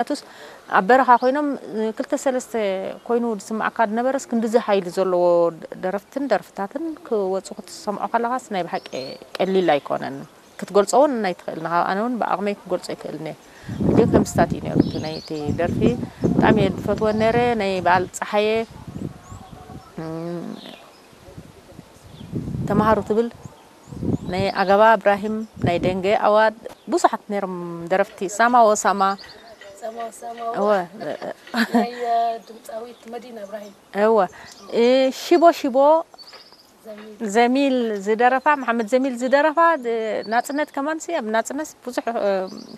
ምክንያቱስ ኣብ በረኻ ኮይኖም ክልተ ሰለስተ ኮይኑ ዝስምዓካ ዝነበረስ ክንድዚ ሓይሊ ዘለዎ ደረፍትን ደርፍታትን ክወፁ ክትሰምዖ ከለኻስ ናይ ብሓቂ ቀሊል ኣይኮነን። ክትገልጾ እውን ኣይትኽእልን። ኣነ እውን ብዓቕመይ ክገልጾ ኣይክእልን እየ። ሕጂ ከምስታት እዩ ነይሩ እቲ ናይቲ ደርፊ። ብጣዕሚ እየ ዝፈትወን ነይረ። ናይ በዓል ጸሓየ ተምሃሩ ትብል ናይ ኣገባ እብራሂም ናይ ደንገ ኣዋድ ብዙሓት ነይሮም ደረፍቲ ሳማ ወሳማ ሰማው ሰማው እወ ናይ ድምፃዊት መዲና እብራሂም እወ እ፣ ሽቦ ሽቦ ዘሚል ዝደረፋ መሓመድ ዘሚል ዝደረፋ እ፣ ናፅነት ከማን ሲ ኣብ ናፅነት ብዙሕ እ፣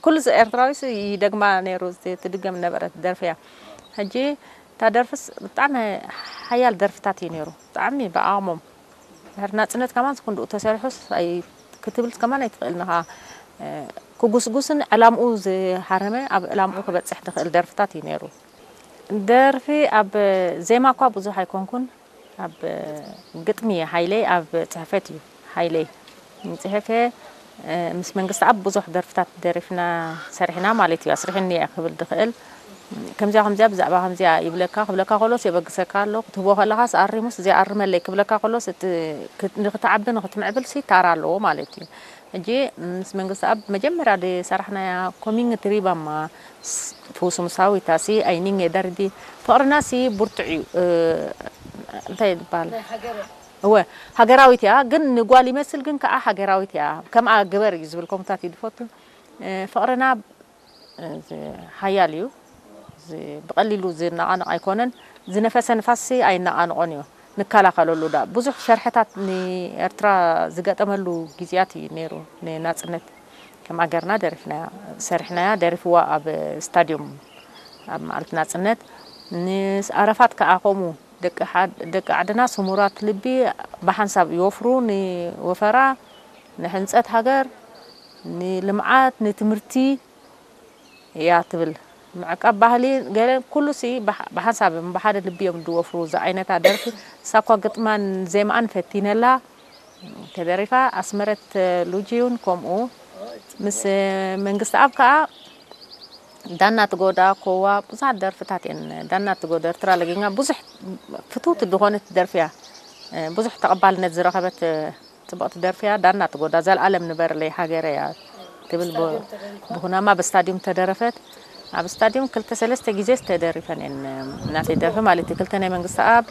ኩሉ ዚ- ኤርትራዊ ሲ ይደግማ ነይሩ ዚ- ትድገም ነበረት ደርፊ እያ። ሕጂ እታ ደርፍስ ብጣዕሚ ሓያል ደርፍታት እዩ ነይሩ ብጣዕሚ ብኣቕሞም ድሕሪ ናፅነት ከማን ክንድኡ ተሰሪሑስ ኣይ- ክትብል ከማን ኣይትኽእልን ኢኻ። እ፣ ክጉስጉስን ዕላምኡ ዝሃረመ ኣብ ዕላምኡ ክበፅሕ ዝኽእል ደርፍታት እዩ ነይሩ። ደርፊ ኣብ ዜማ እኳ ብዙሕ ኣይኮንኩን ኣብ ግጥሚ ሓይለይ ኣብ ፅሕፈት እዩ ሓይለይ ፅሕፈ ምስ መንግስቲ ኣብ ብዙሕ ደርፍታት ደሪፍና ሰሪሕና ማለት እዩ ኣስሪሕኒ እየ ክብል ዝኽእል ከምዚኣ ከምዚኣ ብዛዕባ ከምዚኣ ይብለካ ክብለካ ከሎስ የበግሰካ ኣሎ ክትህቦ ከለኻስ ኣሪሙስ እዚኣ ኣርመለይ ክብለካ ከሎስ እቲ ንክትዓቢ ንክትምዕብል ሲ ታራ ኣለዎ ማለት እዩ ሕጂ ምስ መንግስቲ ኣብ መጀመርያ ዝሰራሕናያ ኮሚንግ ትሪባማ ፉሱምሳዊታ ሲ ኣይኒንጌ ደርዲ ፍቕርና ሲ ብርቱዕ እዩ እንታይ ይባል እወ ሃገራዊት እያ ግን ንጓል ይመስል ግን ከዓ ሃገራዊት እያ ከምኣ ግበር እዩ ዝብል ኮምታት እዩ ዝፈቱ ፍቕርና ሓያል እዩ ብቐሊሉ ዝነቓነቕ ኣይኮነን ዝነፈሰ ንፋስ ኣይነቓንቖን እዩ ንከላኸለሉ ዳ ብዙሕ ሸርሕታት ንኤርትራ ዝገጠመሉ ግዜያት እዩ ነይሩ ንናፅነት ከም ኣገርና ደሪፍናያ ሰሪሕናያ ደሪፍዋ ኣብ ስታድዮም ኣብ መዓልቲ ናፅነት ንኣረፋት ከዓ ከምኡ ደቂ ዓድና ስሙራት ልቢ ብሓንሳብ ይወፍሩ ንወፈራ ንሕንፀት ሃገር ንልምዓት ንትምህርቲ እያ ትብል ምዕቃብ ባህሊ ገለ ኩሉ ሲ ብሓንሳብ ብሓደ ልቢ እዮም ዝወፍሩ ዝዓይነታ ደርፊ ሳኳ ግጥማን ዜማኣን ፈቲነላ ተደሪፋ ኣስመረት ሉጂውን ከምኡ ምስ መንግስቲ ኣብ ከዓ ዳና ትጎዳ ኮዋ ብዙሓት ደርፍታት እየን ዳና ትጎዳ ኤርትራ ለጊኛ ብዙሕ ፍትውቲ ዝኾነት ደርፊ እያ ብዙሕ ተቐባልነት ዝረኸበት ፅብቕቲ ደርፊ እያ ዳና ትጎዳ ዘልኣለም ንበርለይ ሃገረ እያ ትብል ብኩናማ ብስታዲዮም ተደረፈት ኣብ ስታዲዮም ክልተ ሰለስተ ግዜ ዝተደሪፈን እየን ናተይ ደርፊ ማለት እዩ ክልተ ናይ መንግስቲ ኣብ